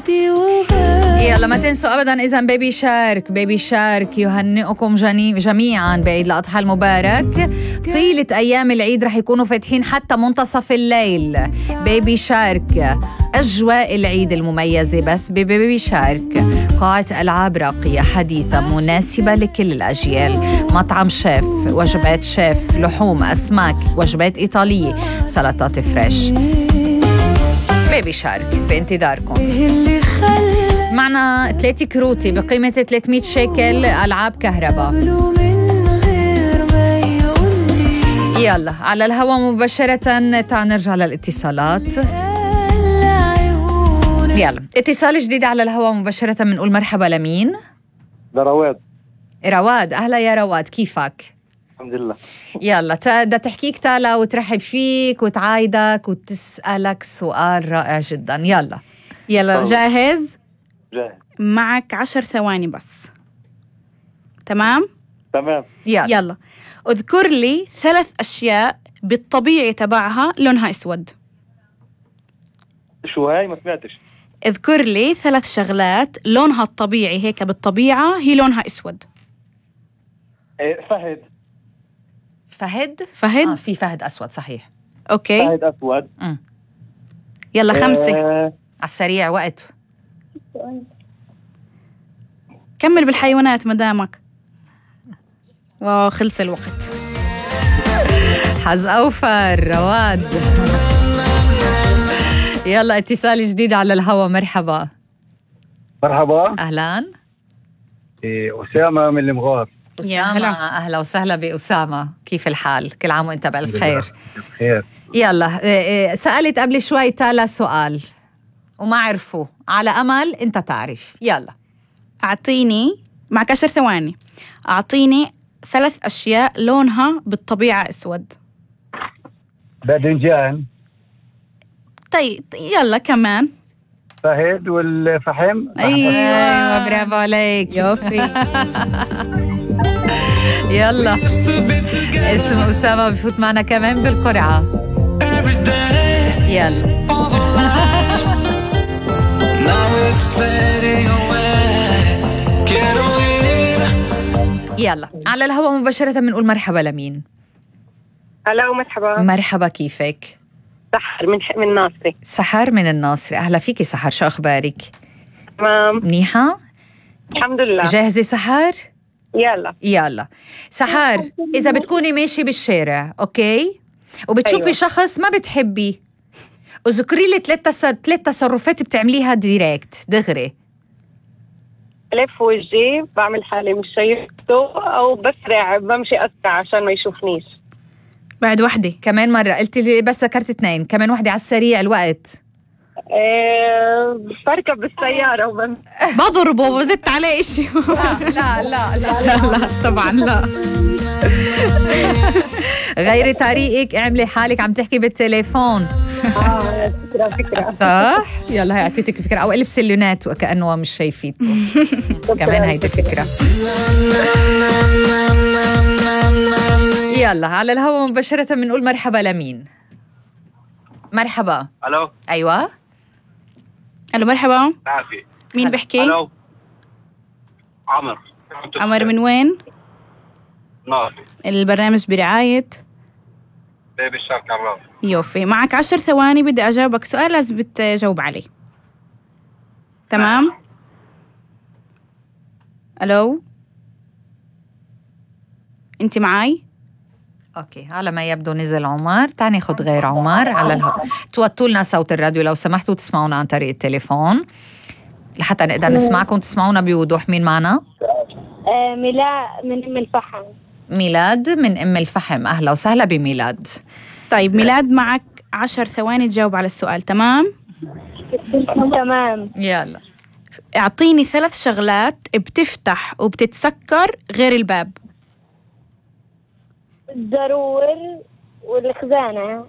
يلا ما تنسوا أبداً إذا بيبي شارك بيبي شارك يهنئكم جميعاً بعيد الأضحى المبارك. طيلة أيام العيد رح يكونوا فاتحين حتى منتصف الليل. بيبي شارك أجواء العيد المميزة بس ببيبي شارك. قاعة ألعاب راقية حديثة مناسبة لكل الأجيال. مطعم شيف، وجبات شيف، لحوم، أسماك، وجبات إيطالية، سلطات فريش. بيبي شارك بانتظاركم. معنا 3 كروتي بقيمة 300 شيكل ألعاب كهرباء. يلا على الهواء مباشرة. تعال نرجع للاتصالات. يلا اتصال جديد على الهواء مباشرة. بنقول مرحبا لمين؟ رواد. رواد، أهلا يا رواد، كيفك؟ الحمد لله. يلا بدها تحكيك تالا وترحب فيك وتعايدك وتسألك سؤال رائع جدا. يلا جاهز؟ جاهز. معك 10 ثواني بس. تمام؟ يلا اذكر لي 3 أشياء بالطبيعي تبعها لونها اسود. شو هاي؟ ما سمعتش. اذكر لي 3 شغلات لونها الطبيعي هيك بالطبيعة هي لونها اسود. فهد. في فهد أسود صحيح. اوكي فهد أسود. يلا 5 على السريع وقت. كمل بالحيوانات مدامك. واو خلص الوقت. حظ أوفر رواد. يلا اتصال جديد على الهوا. مرحبا. أهلا. أسامة من المغار. أسامة، أهلا وسهلا بأسامة. كيف الحال؟ كل عام وأنت بألف خير. بخير. يلا سألت قبل شوي تالا سؤال وما عرفوا، على أمل أنت تعرف. يلا أعطيني، معك 10 ثواني، أعطيني 3 أشياء لونها بالطبيعة أسود. باذنجان. طيب يلا كمان. فهد والفحم. أيوة برافو عليك. يوفي. يلا اسم أسامة بفوت معنا كمان بالقرعة. يلا يلا على الهواء مباشرة. بنقول مرحبا لمين؟ هلا ومرحبا. مرحبا، كيفك؟ سحر من الناصري. سحر من الناصري، أهلا فيكي سحر، شو أخبارك؟ تمام منيحة؟ الحمد لله. جاهزة سحر؟ يلا سحر، إذا بتكوني ماشي بالشارع أوكي وبتشوفي أيوة. شخص ما بتحبي، اذكري لي 3 تصرفات بتعمليها ديريكت دغري. ألف وجهي، بعمل حالي مش شايفته، أو بسرع بمشي أسرع عشان ما يشوفنيش. بعد وحدة كمان مرة قلتي لي بس ذكرت 2، كمان وحدة على السريع الوقت. بركب بالسيارة بضربه وزدت عليه إشي. لا طبعا لا. غيري طريقك، اعملي حالك عم تحكي بالتليفون. فكرة صح. يلا هي اعطيتك فكرة، او البسي اللونات وكأنه مش شايفين. كمان هيدي فكرة. يلا على الهواء مباشرة بنقول مرحبا لمين؟ مرحبا. ألو. أيوة. ألو مرحبا. عافية. مين بحكي؟ ألو. عمر من وين؟ ناصري. البرنامج برعاية بيبي شارك عراف. يوفي. معك 10 ثواني، بدي أجاوبك سؤال لازم تجاوب عليه. تمام؟ ألو أنت معاي؟ اوكي، على ما يبدو نزل عمر. تاني خد غير عمر على الهواء. توطوا لنا صوت الراديو لو سمحتوا، تسمعونا عن طريق التليفون لحتى نقدر نسمعكم تسمعونا بوضوح. مين معنا؟ ميلاد من أم الفحم. ميلاد من أم الفحم، أهلا وسهلا بميلاد. طيب ميلاد، معك 10 ثواني تجاوب على السؤال. تمام؟ تمام. يلا اعطيني 3 شغلات بتفتح وبتتسكر غير الباب. الزرور والخزانة